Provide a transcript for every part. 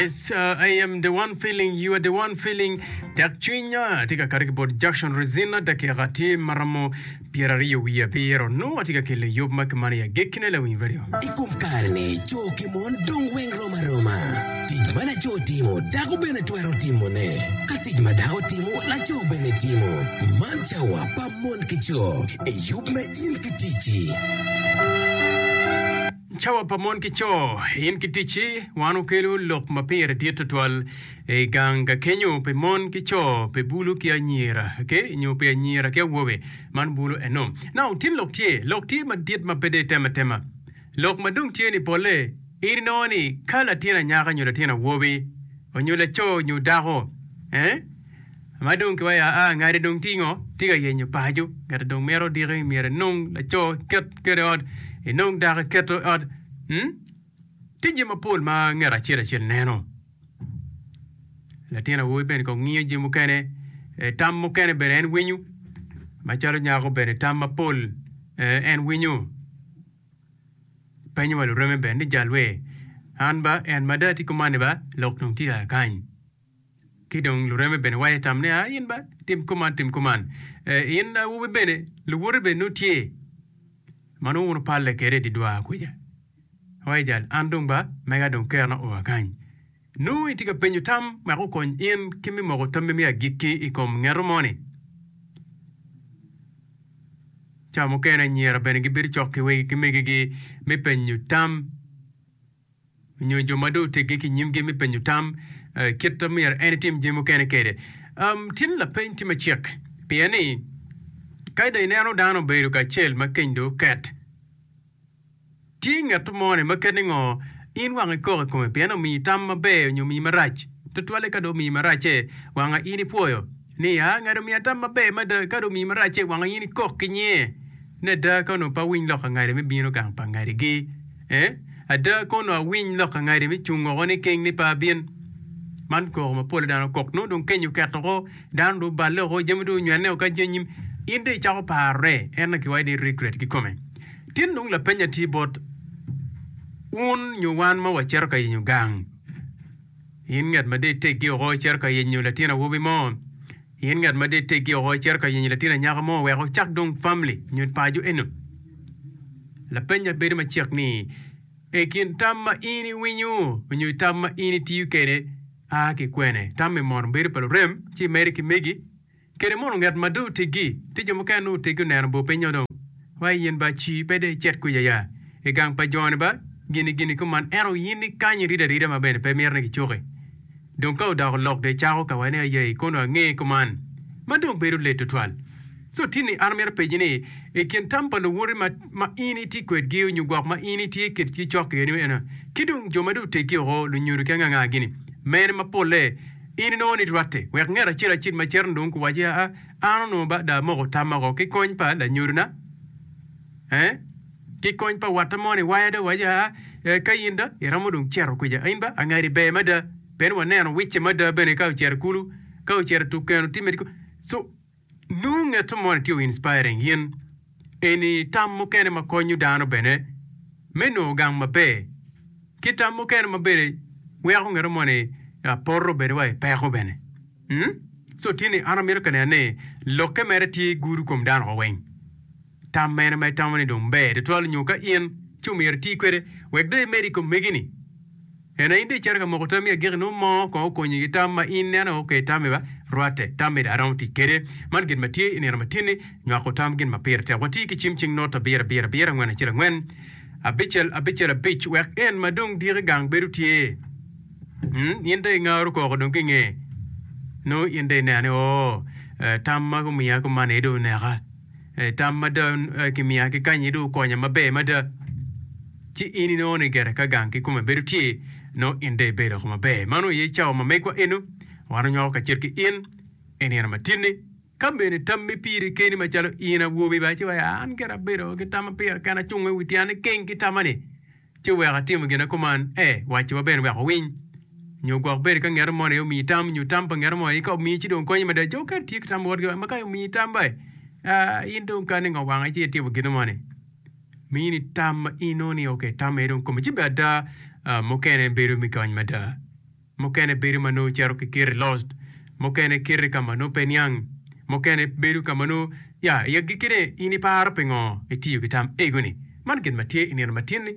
Yes, uh, I am the one feeling, you are the one feeling. Tek cwinya tye ka kati ki bot Jackson Resina dakika tye maromo 27 wiye abiro. Nongo atye ka kelo yub ma kimano i agikkine lawiny radio. I kom kare-ni, co ki mon dong weng rom aroma. Tic ma laco timo, dako bene twero timone. Ka tic ma dako timo, laco bene timo. Man cawa pa mon ki co i yub me In ki Ticci. Cawa pa mon ki co, in ki ticci, wan okelo lok ma pire dit tutwal i gang ka kenyo pi mon ki co, pi bulu ki anyira, okay, nyo pi anyira ki awobe. Man bulu eno. Now, tin lok tye, lok tye madit ma pe dong itemo atema. Lok ma dong tye ni polle, in inongo ni ka latin anyaka nyo latin awobi, onyo laco nyo dako, eh, Ma dong kiwaco aa ngati dong tye ngo? Tye ka yenyo paco. Ngati dong mito diki myero enong laco eket kwede ot, enong dako eketo i ot. Hmm? Tye jami mapol ma ngat acel acel neno. Latin awobi bene kong ngiyo jami mukene, eh, tam mukene bene en winyo. Macalo nyako bene tam mapol eh, en winyo. Penyo wa lureme bene ni jalwe, an ba en mada tye kuman-ni ba, lok dong tye kany. Ki dong lureme bene waco tam ni, 'A in ba, tim kuman, tim kuman. Eh, in awobi bene, luwoti bene nongo tye ma nongo wun wupalle kwede i dye dwar kwija. Waco jal, an dong ba, mega dong kerna oa kany. Nongo itye ka penyo tam wek okony in ki me moko tammi me agikki i kom ngeto moni. Ca mukene anyira bene gibedo cok ki wegi ki megigi me penyo tam. nyo jo ma dong otegge ki i nyimgi me penyo tam kit ma myero en etim jami mukene kwede. Tin lapeny tye macek pien ni ka dong ineno dano obedo kacel ma keny dong oket, tye ngat mo-ni ma kit ni ngo in wang ikok i kome pien omiyi tam maber nyo omiyi marac tutwalle ka dong omiyi maracce wanga in ipwoyo ni aa ngat omiya tam maber mada ka dong omiyi maracce wanga in ikok ki nyinge ni ada ka onongo pe awiny lok angadi me bino gang pa ngadigi. Ee, ada kono awiny lok angadi me cung oko niking ni pe abin. Man koko ma pole dano kok nongo dong keny oket oko, dano dong oballe oko, jami dong onywene oko ka jami anyim. In dong icako parone, en aye kiwaco ni regret kikome. Tin dong lapenya tye bot wun nyo wan ma wacito ka yenyo gang. In ngat ma dong iteggi oko icito ka yenyo latin awobi mo. In ngat ma dong iteggi oko icito ka yenyo latin anyaka mo wek wucak dong famili nyo paco eno. Lapenya bedo macek ni, I kin tam ma in iwinyo nyo tam ma in itiyo kwede a ki kwene? Tam-mi mono bedo pa lurem ci imedo ki megi? Kede mono ngat ma dong oteggi? Tye jo mukene nongo oteggi oneno bor piny-nyo dong wa in ba ci pe dong icit kuca ya i gang pa jo-ni ba gini gini kuman ento in ikany irido arida ma bene pe mito ni kicuki. Dong ka odoko lok dong icako ka wa ni ayei kono ange kuman ma dong bedo lit tutwal. So tinni an amito penyi ni i kin tam pa luwoti ma ma in itye kwedgi onyo gwok ma in itye kedgi cok kwedgi eno ki dong jo ma dong oteggi oko lunyodo ki anga anga gini mene ma polle in inongo ni rwatte wek ngat acel acel ma cito dong kuwaci aa an onongo ba dong amoko tamma oko ki kony pa lanyodona eh ki kony pa watta mo ni waya dong waci aa ka in dong iromo dong cito kuca in ba angadi ber mada pien waneno wicce mada bene ka ocito kulu ka ocito tukeno timme so Nongo ngeto moni tye o inspiring in eni tam mukene ma konyo dano bene me nongo gang maber ki tam mukene ma bene weko ngeto moni poto bene wa i peko bene so tye ni an amito ka neno ni lokke mere tye gudo kom dano woko weng. Tam mene ma itamo ni dong ber tutwal nyo ka in ci omyero iti kwede wek dong imed i kom megi-ni? En aye in dong icito ka moko tammi agikki nongo mo kong okonyi ki tam ma in ineno ok tammi ba rwatte tammi dong aromo tic kwede. Man gin ma tye i nino ma tin-ni, nywako tam gin ma pire tek. Watye ki cim cing not abiro abiro abiro angwen acel angwen abicel abicel abic wek en ma dong diki gang bedo tye. Mm, in dong ingaro koko dong ki nge nongo in dong ineno ni oo tam ma gumiya kuman aye dong oneka. Tam ma dong kimiya ki kanyi dong okonya maber mada. Ci in inongo ni gire ka gang kikome bedo tye, nongo in dong ibedo woko maber. Mano aye cawa ma megwa eno, wan onywako kacel ki in i nino matinni. Ka bene tammi piri keni macalo in awobi ba, ci iwaco, an gire abedo ki tamma pira kena, acung i wi tyena keng ki tamma-ni. Ci oweko atimo gin kuman, ee, wacciwa bene wek owiny. Nyo gwok bed ka ngeto moni aye omiyi tam, nyo tam pa ngeto moni aye ka omiyi ci dong konyi mada. Jo mukene tye ki tam botgi ma ka omiyi tam ba, aa, in dong ka ningo wangi ci itimo gin moni. Mini tam ma in inongo ni ok, tam aye dong kome. Ci bene ada, mukene bedo me kony mada. Mukene bedo ma nongo cito ki kiti lost, mukene kiti ka ma nongo pe niang, mukene bedo ka ma nongo ya i agikkine in iparo pingo itiyo ki tam ego-ni. Man gin ma tye i nino matin-ni.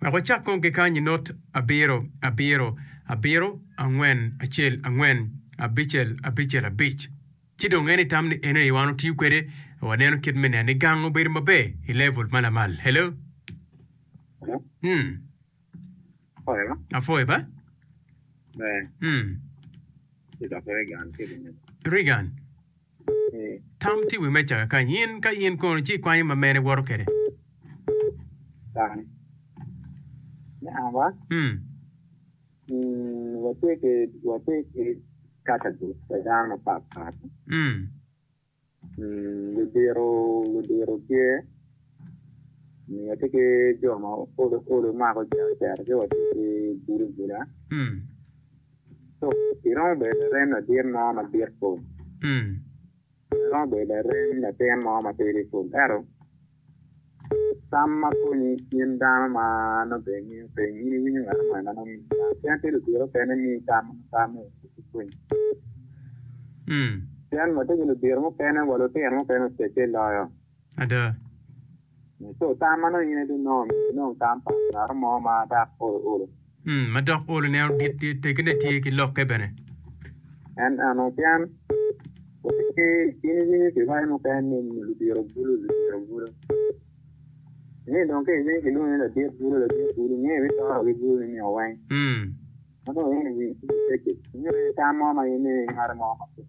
Wek wacak kong ki kany i not abiro, abiro, abiro, angwen, acel, angwen, abicel, abicel, abic. Ci dong en itam ni eno aye wan otiyo kwede, waneno kit me neno ni gang obedo maber i level ma lamal. Hello? Hello? Mm. Apoyo. Apoyo ba? Ber. Mm. Ci dok Reagan tye ki neno. Reagan. Eh. Tam tye i wi meja kakany. In ka in kono ci ikwanyo ma mene woto kwede? Kani. Me anga? Mm. Mm, watye ki watye ki category pa dano mapat pat. Mm. Ludito ludito tye nyo tye ki jo ma olo olo mako cito ci watye ki gudo guda so iromo bedo larem ladit mo madit pol iromo bedo larem latin mo matidi pol ento Tam ma konyi in dano ma nongo bene ingeyo piny, in iwinyo ngat moni ma nongo miyi tam. Pien tye ludito mukene miyi tam ma nongo tamme pe konyi. Pien watye ki ludito mukene wa lutino mukene ocece loyo. Ada. Co tam ma nongo in ibinongo myero inong tam pa ngat mo ma dok olo olo. Ma dok olo neno dit tegine tye ki lokke bene. En eno pien watye ki in iwinyo kiwaco mukene ni ludito bulu ludito bulu. Inge dong ka iwinyo kilwongi ni ladit bulu ladit bulu inge ibitoro ki bulu ni nio weng. Ma dong in iwinyo ci peke inge tam mo ma in ingado mo ma pe.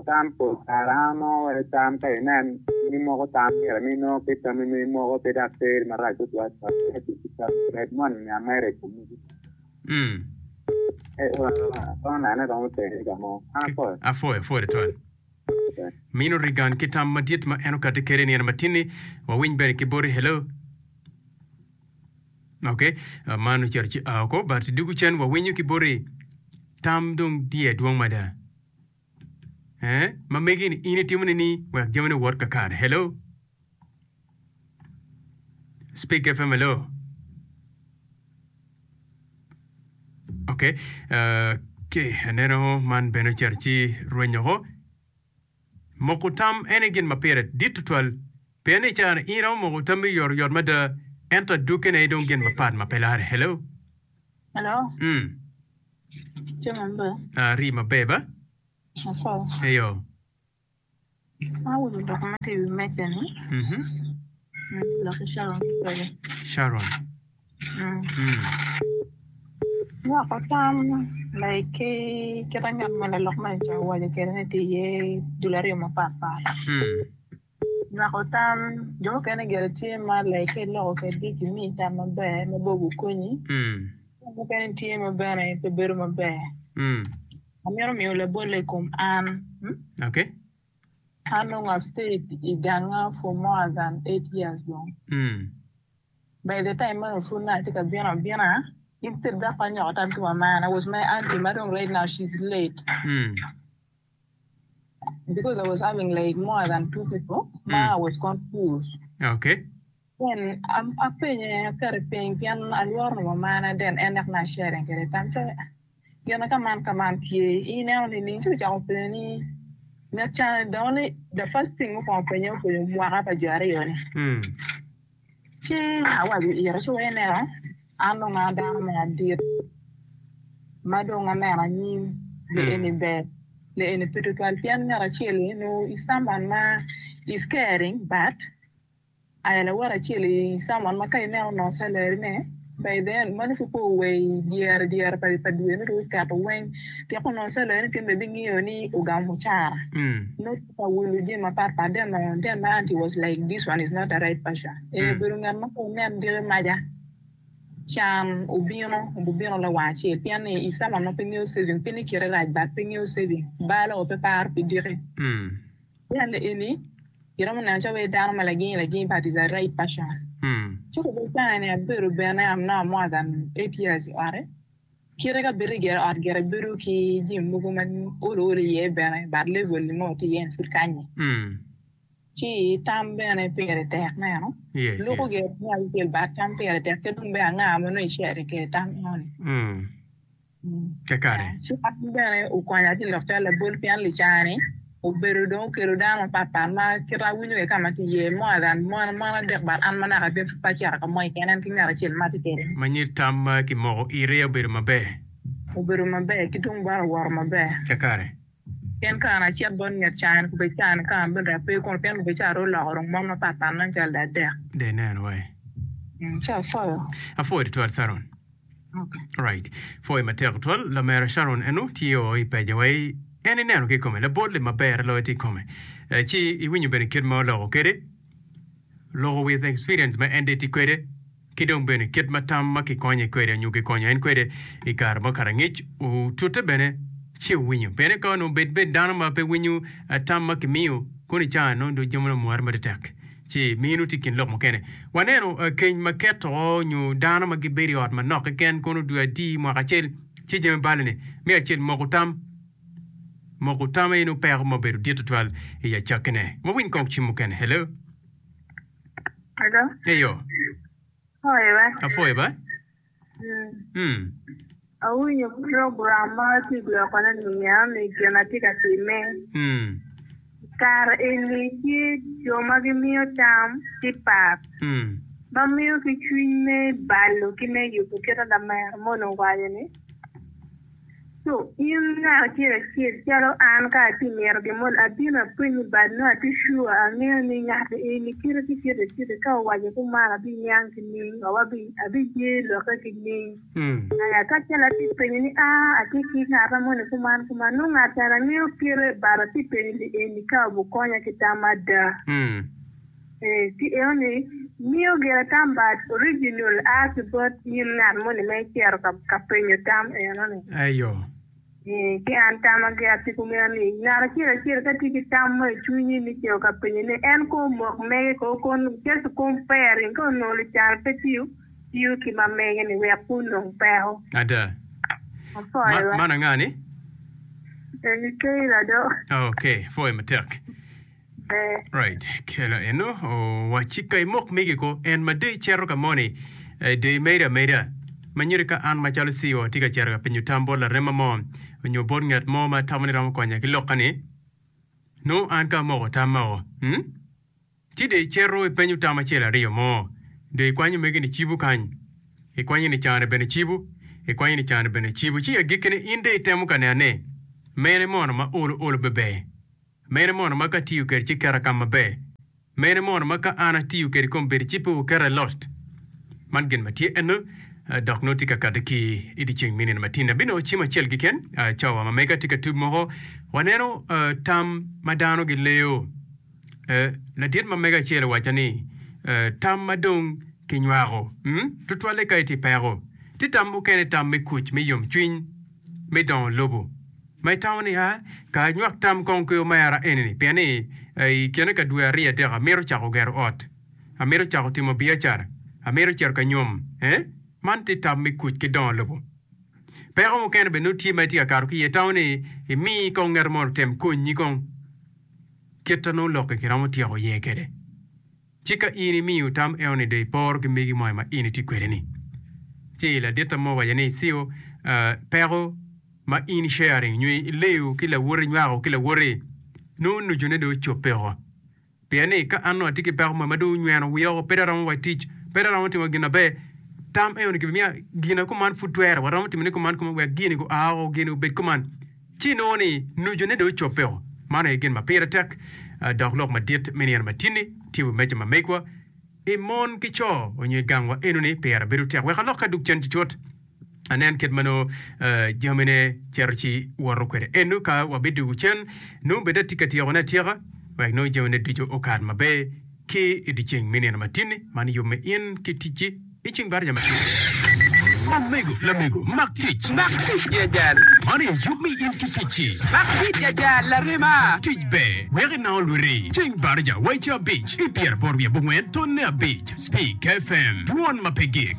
Tam pol kare an anongo wai tam ka inen in imoko tam myero mi nongo ki tammi ma imoko pe dok teri marac tutwal med moni ni ameda i kom mogo romo nene romo teri ka mo an apwoyo. Apwoyo apwoyo tutwal. Mino Reagan ki tam madit ma en okati kede nino matinni wawiny bene ki boti hello. Ok, man ocito ci a oko, but dugu cen wawinyo ki boti tam dong diye dwong mada. Eh, ma megi ni in itimo ni ni wek jamine owot kakare. Hello? Speak FM, hello? Ok, uh, okay, aneno man bene ocito ci rwenyo oko. Moko tam en aye gin ma pire dit tutwal, pien ni i caa-ni in iromo moko tammi oyotoyot mada, ento adwoggine aye dong gin mapat ma pe larre. Hello. Hello. Mm. Tye maber. Ari maber ba? Asoyo. Eyo. Awinyo lok ma tye i wi meja-ni. Mhm. Lok ki Sharon kwede. Sharon. Nywako tam like ki kit ma ngat ma lalok moni ca owaco kwede ni tye iye dul aryo mapatpat. Nywako tam jo mukene gire tye ma like ka iloko kwedgi gimiyi tam maber ma bene gukonyi, jo mukene tye ma bene pe bedo maber. Amito miyo labolle i kom an. An dong I've stayed i ganga for more than 8 years dong. By the time ma onongo pud nongo atye ka bino abina, instead dok pe anywako tam ki mamana was my auntie ma dong right now she's late because I was having like more than two people ma I was confused. Okay. Then apenye aketo piny pien alworo ni mamana then en dok nongo a sharing kwede tam ci Gin ka man ka man tye, ineno nining? Ci ocako penyo ni, Ngat ca the only, the first thing mukwongo penye openyo mwaka pa jo aryo-ni. Ci awaco ire, ci wai ineno, an dong a dano me adit ma dong aneno anyim, li eni ber, li eni pe tutwal pien ngat acel-li nongo is someone ma is caring but Aya lawote acel i someone ma ka ineno onongo salary ne by then meno pud pe owee dyere dyere pa dwe nongo dong oketo weng tyeko onongo salary ne pien bene bingiyo ni ogamo mucara nongo tye ka wilo jami mapat pat then then my auntie was like this one is not a right person eni obedo ngat ma ka inen diki maca can obino obubino lawang acel pien ni i someone ma pe ngeyo saving pe ni kite rac but pe ngeyo saving balo pe paro pi diki. Pien eni iromo neno calo wai dano ma lagingi lagingi but is a right person. Ci kobo canga ni abedo bene am now more than 8 years i ote. Kite ka bedo gire ot gire bedo ki jami mogo ma olo olo iye bene but level ni mo tye iye ni pud kanye. Ci tam bene pire tek neno. Yes, Luko yes. gire me acel but tam pire tek ki dong bene anga ma nongo i sharing kwede tam enoni. Mm. Kakare. Ci an bene okonya ki lok calo labol pien licani obedo dong okelo dano mapatpat ma kit awinyo kwede ka ma tye iye more than mon mon adek but an ma naka pe acito ka mo keken en ki ngat acel ma atye kwede. Ma nyit tam ma kimoko ite obedo maber. Obedo maber ki tung bota owoto maber. Kakare. Pien ka an acit bot nget cani kubed cani ka an bene dong ape kunu pien kubed ca dong oloko dong mon mapatpat nen calo dong adek. Dong ineno wai. Ci apwoyo. Apwoyo tutwal Sharon. Right. Pwoyo matek tutwal lamera Sharon eno tye o i peja wai en ineno ki kome labol-li maber loyo tye i kome. Ci iwinyo bene kit ma oloko kwede. Loko with experience ma en dong tye kwede ki dong bene kit ma tam ma kikonye kwede nyo kikonyo en kwede i kare ma okato angec otute bene ci owinyo. Pien ka onongo bed bed dano ma pe winyo tam ma kimiyo kono i caa nongo dong jami omwore matek ci mino tye i kin lok mukene. Waneno keny ma keto nyo dano ma gibedo i ot manok keken kono dwe adi mwaka acel ci jami bale-ni me acel moko tam. Moko tam aye nongo peko ma obedo dit tutwal i acakkine. Wawiny kong cim mukene. Hello. Hello. Eyo. Apwoyo ba. Apwoyo ba. Mm. Mm. Awinyo program ma atye gwokone ni eno ni gin atye ka timme. Mm. Kare eni tye jo ma gimiyo tam ki pat Mm. ma miyo ki cwiny me balo ki me yubo kite lamero moni owaco ni Co, in ngat acel acel calo an ka atye mito gin moni abino apenyi but nongo atye sure angeyo ni ngat eni kite ki kite kite ka owaco kuman abiniang ki ning or abiye lokke ki ning aya ka calo atye penyo ni aa atye ki ngata moni kuman kuman nongo ngat cani angeyo kite but atye penyo li eni ka obukonya ki tam ada. Ee, ci eno ni miyo gire tam but original a ki bot in ngat moni ma icito ka penyo tam eno ni. Eyo. Ee, ki an tama gira tye kumeno ni ngat acel acel ka tye ki tam mo i cwinyi ni cito ka penyo ne en ko omok mege ko kon just comparing ka onongo lucan pe tiyo tiyo ki ma mege ni wek pe onong peko. Ada. Apwoyo Ma, wa. man anga ni? Eni Kayla do. Okay, apwoyo matek. Right. Kelo eno owacci ka imok megi ko en ma dong icito ka moni eh, dong imedo ameda. Ma nyuto ka an macalo CEO atye ka cito ka penyo tam bot larema mo nyo bot ngat mo ma atamo ni romo konya ki lokka ni, nongo an ka amoko tamma o, hmm? Ci dong icito ipenyo tam acel aryo mo, dong ikwanyo megi ni cibo kany, ikwanyo ni cane bene cibo, ikwanyo ni cane bene cibo, ci agikkine in dong itemo ka neno ni mene mono ma olo olo beber. Mene mono ma ka atiyo kwede ci keta ka maber? Mene mono ma ka an atiyo kwede kombeddi ci pe wuketa i lost? Man gin ma tye eno, dok nongo tye ka kati ki i dyeceng me nino matin. Abinongo cim acel keken, cawa ma mega tye ka tub moko. Waneno tam ma dano gileyo. Ladit ma mega acel owacca ni, Tam ma dong kinywako, tutwalle ka itye i peko. Tye tam mukene tam me kuc, me yomcwiny, me dongo lobo. Ma itamo ni, 'A, ka anywak tam kong ki omera eni-ni, pien ni i kine ka dwe aryo adek amito cako gero ot, amito cako timo biacara, amito cito ka nyom. Eh? Man tye tam me kuc ki dongo lobo. Peko mukene bene nongo tye ma itye ka kato ki iye. Itamo ni imi kong ngat mo otem konyi kong kit ma nongo lok-ki kiromo tyeko iye kwede. Ci ka in imiyo tam enoni dong iporo ki megi mo ma in itye kwede-ni. Ci laditta mo owaco ni, Cio, peko ma in i-sharing nyo ileyo ki lawoti, inywako ki lawoti, nongo nucune dong ocobbe woko. Pien ni ka an nongo atye ki peko mo ma dong onyweno wiya woko, pe dong aromo wa tic, pe dong aromo timo gin maber, tam enoni kibimiya gina kuman pud twere, waromo timone kuman kuman wek gini gua woko, gini obed kuman. Ci inongo ni nucune dong ocobbe woko. Man aye gin ma pire tek dok lok madit me nino matinni tye i wi meja ma megwa i mon ki co onyo i gangwa enoni pire bedo tek. Wek alok ka dug cen cucut anen kit ma nongo jamine cito ci woto kwede. Eno ka wabidugo cen nongo bed atye ka tyekone atyeka wek nongo jamine ducu okat maber ki i dyeceng me nino matinni. Man yub me in ki ticci. I ceng baraja matin. Omego, lamego, mak tic. Mak tic ya jal. Man aye yub me in ki ticci. Mak tic ya jal, larema. Tic ber, wek inang olwiti. Ceng baraja waica abic, i pyeraboro wiye abongwen, tonne abic. Speak FM, dwon ma pe gik.